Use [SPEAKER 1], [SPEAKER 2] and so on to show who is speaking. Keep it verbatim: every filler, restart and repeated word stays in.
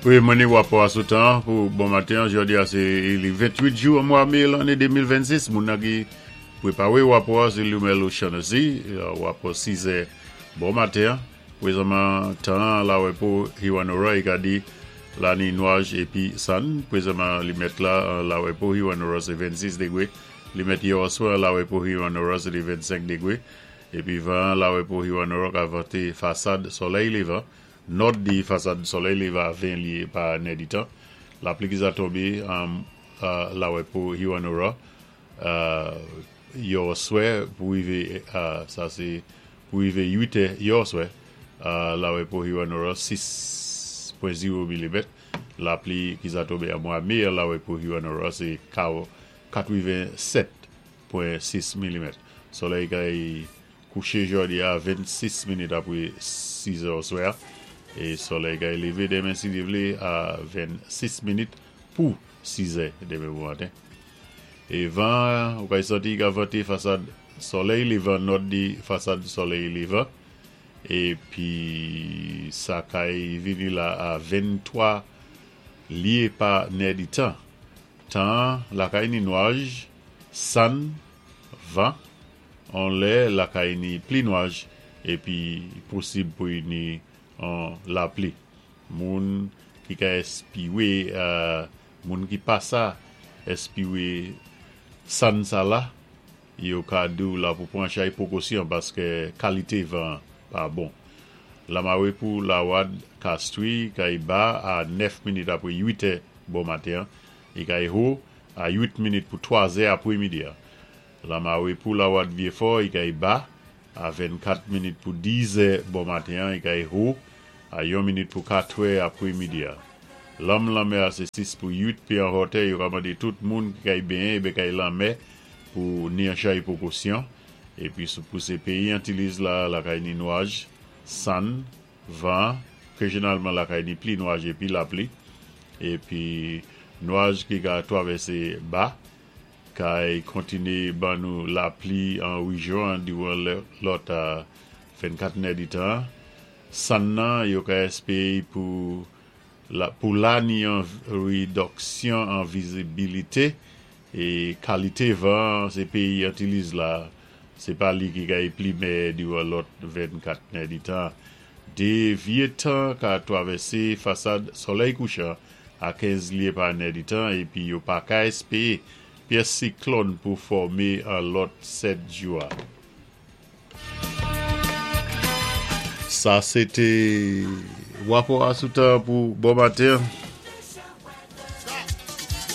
[SPEAKER 1] Wi, mwen ni wapò a sou tan pou bon maten. Jòdi a sé li ventwit jou an mwa mé lanné de mil vennsis. Moun nan ki pwépawé wapò a sé Lumel O'Shaughnessy, wapò sis è bon maten. Pwézanman tan Lawepo, Hewanorra, i ka di la ni nwaj épi sann. Pwézanman li mèt la Lawepo, Hewanorra sé vennsis dégwé. Li mèt yè oswa Lawepo, Hewanorra sé di vennsenk dégwé. Épi van Lawepo, Hewanorra ka vanté fasad solèy lévan. Nòd di fasad solèy lévan ven lyé pa nèditan. Lapli ki za tonbé an Lawepo, Hewanorra yè oswè pou wivé, sa sé pou wivé uit è yè oswè Lawepo, Hewanorra sis pwen zewo milimèt. Lapli ki za tonbé an mwa mé Lawepo, Hewanorra sé katwevensèt pwen sis milimèt. Solèy kay kouché jòdi a vennsis minit apwé sis è oswè é solèy kay lévé denmen si Dye vlé a vennsis minit pou sis è denmen bon maten. É van, ou kay santi ka vanté fasad solèy lévan, nòd di fasad solèy lévan. Épi sa kay vini la a venntwa lyé pa nèditan. Tan lakay ni nwaj, sann, van, an lè lakay ni pli nwaj épi posib pou ni an lapli. Moun ki ka èspiwé, moun ki pa sa èspiwé sann sa la, yo ka di ou la pou pwan chay pwékosyon paské kalité van pa bon. Lamawé pou Lawad Castries kay ba a nèf minit apwé uit è bon maten, é kay wo a uit minit pou twa è apwé midi. Lamawé pou Lawad Vieux-Fort kay ba a vennkat minit pou diz è bon maten, é kay wo a yon minit pou kat è apwé midi. Lanm lanmè a sé sis pou uit pye an wotè, yo ka mandé tout moun ki kay benyen é kay lanmè pou ni an chay pwékosyon. Épi sou pou sé péyi Antiliz la, lakay ni nwaj, sann, van, ké jénwalman lakay ni pli nwaj épi lapli. Épi nwaj ki ka twavèsé ba, kay kontiné ban nou lapli an wéjyon diwan lòt a vennkat nèditan. Sann nan yo ka èspéwé pou la, pou la ni an wédiksyon an vizibilité é kalité van sé péyi Antiliz la, sé pa li ki kay pli mèyè diwan lòt vennkat nèditan. Dé vyé tan ka twavèsé fasad solèy kouchan a kenz lyé pa nèditan épi yo pa ka èspéwé pyès siklòn pou fòmé an lòt sèt jou. Sa sé té wapò a sou tan pou bon maten.